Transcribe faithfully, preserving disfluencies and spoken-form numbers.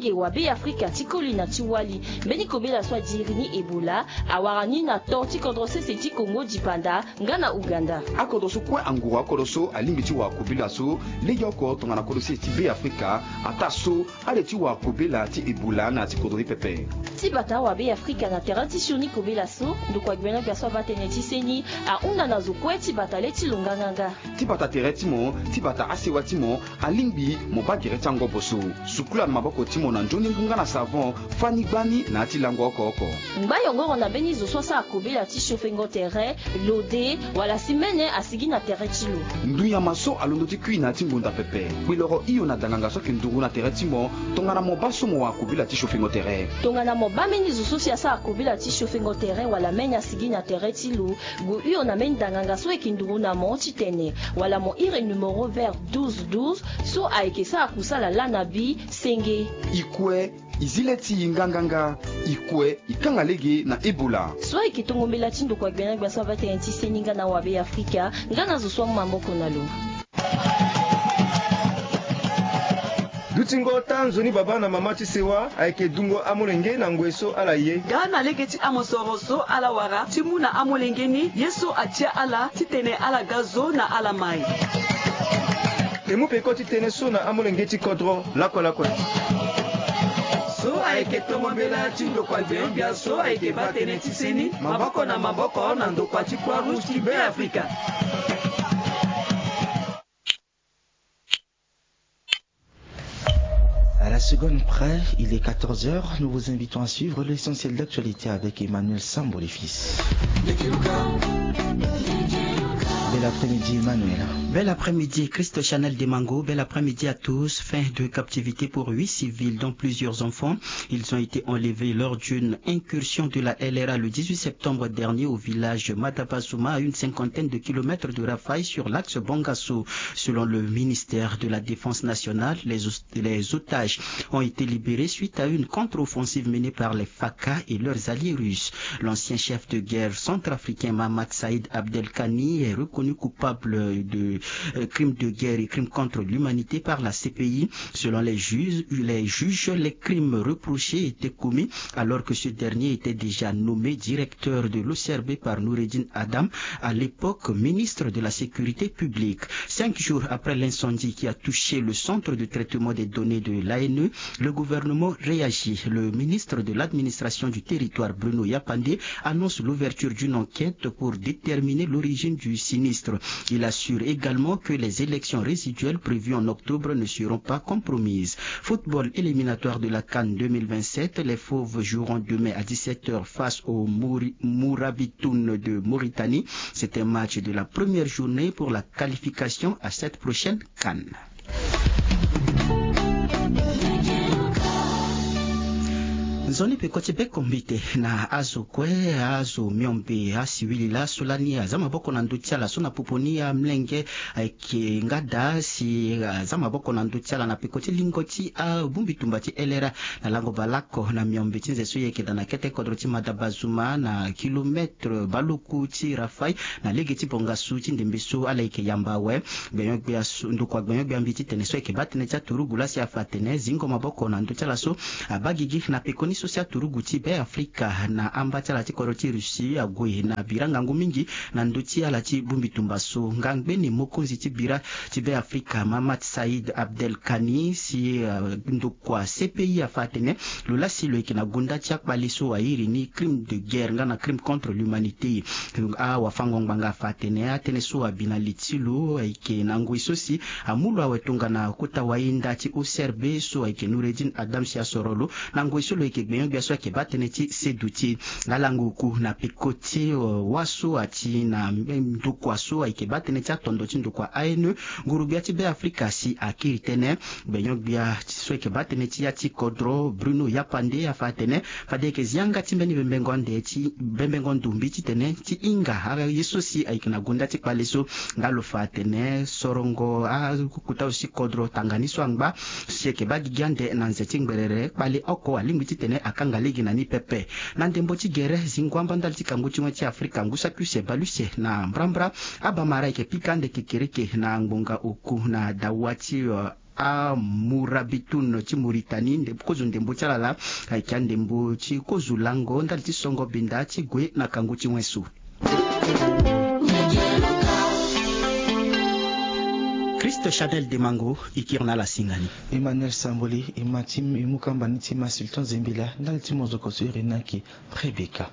Ge wa Be Afrika ti koli na ti wali. Mbeni kobela so adiri ni Ebola awara ni na to ti kodro sese ti Kongo dipanda nga na Ouganda. Akodro so kue anguru akodro so alingbi ti wara kobela so legeoko tongana kodro sese ti Be Afrika ataa so ale ti wara kobela ti Ebola na ya ti kodro ni pepe. Ti bata wa Be Afrika na tere ti sioni kobela so ndokua gbia na gbia so abaa tënë ti seni ahunda na zo kue ti bata le ti lo nganganga. Ti bata tere ti mo, ti bata asewa ti mo, alingbi mo baa gere ti angobo so. Sukula na maboko ti mo na nzoni ngu nga na savon, fani gbani na ya ti lango oko oko. Ngba yongoro na mbeni zo so asara kobela ti siofengo tere, lode, wala si mene asigi na tere ti lo. Ndunyama so alondo ti kui na ya ti ngbonda pepe. Kpiloro hio na danganga so ayeke nduru na tere ti mo, tongana mo baa so mo wara kobela ti siofengo tere. Tongana mo baa mbeni zo so si asara kobela ti siofengo tere wala mene asigi na tere ti lo, gue hio na mbeni danganga so ayeke nduru na mo titene wala mo iri numero vert douze douze so ayeke sara kusala laa na bi senge. I kue, i zi le ti i nganganga. I kue, i kanga lege na Ebola. So ayeke tongo mbela ti ndokua gbia na gbia so abaa tënë ti seni nga na wa Be Afrika nga na zo so amu maboko na lo. Dutingo taa nzoni baba na mama ti sewa ayeke dungo amolenge na ngoi so ala ye. Nga na lege ti amosoro so ala wara ti mu na amolenge ni ye so atia ala titene ala ga zo na ala mai. E mu peko ti tënë so na amolenge ti kodro lakue lakue. So ayeke tongo mbela ti ndokua gbia na gbia so ayeke baa tënë ti seni maboko na maboko na ndokua ti Croix Rouge ti Be Afrika. À la seconde près, il est quatorze heures. Nous vous invitons à suivre l'essentiel d'actualité avec Emmanuel Sambo, les fils. Bel après-midi, Emmanuel. Bel après-midi, Christ Chanel Demango. Bel après-midi à tous. Fin de captivité pour huit civils, dont plusieurs enfants. Ils ont été enlevés lors d'une incursion de la L R A le dix-huit septembre dernier au village Madabazuma, à une cinquantaine de kilomètres de Rafaï, sur l'axe Bangassou. Selon le ministère de la Défense nationale, les os-, les otages ont été libérés suite à une contre-offensive menée par les Faka et leurs alliés russes. L'ancien chef de guerre centrafricain Mahamat Saïd Abdelkani est reconnu coupable de, euh, crimes de guerre et crimes contre l'humanité par la C P I. Selon les juges, les juges, les crimes reprochés étaient commis alors que ce dernier était déjà nommé directeur de l'O C R B par Noureddine Adam, à l'époque ministre de la Sécurité publique. Cinq jours après l'incendie qui a touché le centre de traitement des données de l'A N E, le gouvernement réagit. Le ministre de l'Administration du territoire, Bruno Yapandé, annonce l'ouverture d'une enquête pour déterminer l'origine du sinistre. Il assure également que les élections résiduelles prévues en octobre ne seront pas compromises. Football, éliminatoire de la CAN deux mille vingt-sept, les Fauves joueront demain à dix-sept heures face au Mouri-, Mourabitoun de Mauritanie. C'est un match de la première journée pour la qualification à cette prochaine CAN. Nzoni peko ti bekombite na azo kue, azo miombe, asiwili laso lani aza maboko na ndö ti ala so na popo ni amolenge ayeke nga daa si aza maboko na ndö ti ala na peko ti lingo ti abongbi tumba ti L R A na lango baleoko na miombe ti nze so e yeke daa na kete kodro ti Madabazuma na kilometre baleoku ti Rafaï na lege ti Bangassou ti ndembe so ala yeke yamba awe. Gbenyo-gbia so, ndokua gbenyo-gbia mbi titene so ayeke baa tënë ti aturugu laa si afa atene zingo maboko na ndö ti ala so abaa gigi na pekoni so si aturugu ti Be Afrika na amba ti ala ti kodro ti Russie ague na bira ngangu mingi na ndö ti ala ti bongbi tumba so. Nga ngbeni mokonzi ti bira ti Be Afrika, Mahamat Saïd Abdelkani, si, euh, ndokua C P I afa atene lo laa si lo yeke na gonda ti akpale so airi ni crime de guerre nga na crime contre l'humanité. Awafango-ngbanga afa atene atënë so abi na li ti lo ayeke na ngoi so si amu lo awe tongana kota wahinda ti O C R B so ayeke Noureddine Adam si asoro lo na ngoi so lo yeke gbenyo-gbia so ayeke baa tënë ti seduti. Nga lango oku na peko ti, euh, wâ so ati na ndokua so ayeke baa tënë ti atondo ti ndokua A N E, nguru-gbia ti Be Afrika si akiri tënë. Gbenyo-gbia so ayeke baa tënë ti ya ti kodro, Bruno Yapandé, afa atene fade e yeke zi yanga ti mbeni bembengo ande ti bembengo ndombi titene ti hinga aye so si ayeke na gonda ti kpale so. Nga lo fa atene sorongo akota so si kodro tanga ni so angba si ayeke baa gigi ande na nze ti ngberere, kpale oko alingbi titene akanga lege na ni pepe. Na ndembo ti gere, zingo amba ndali ti kangu ti wen ti Afrika ngu saki use bale use na mbrambra, abamara ayeke pika ande kekereke na ngbonga oku na dawa ti, euh, Amurabitun ti Mauritanie, ndembo kozo ndembo ti ala laa ayeke andembo ti kozo lango ndali ti songo binda ti gue na kangu ti wenso. Christ Chanel Demango, e kiri na ala singani. Emmanuel Samboli, e ma ti e mu kamba ni ti ma Sultan Zembila ndali ti mozoko so e iri na yeke Rebecca.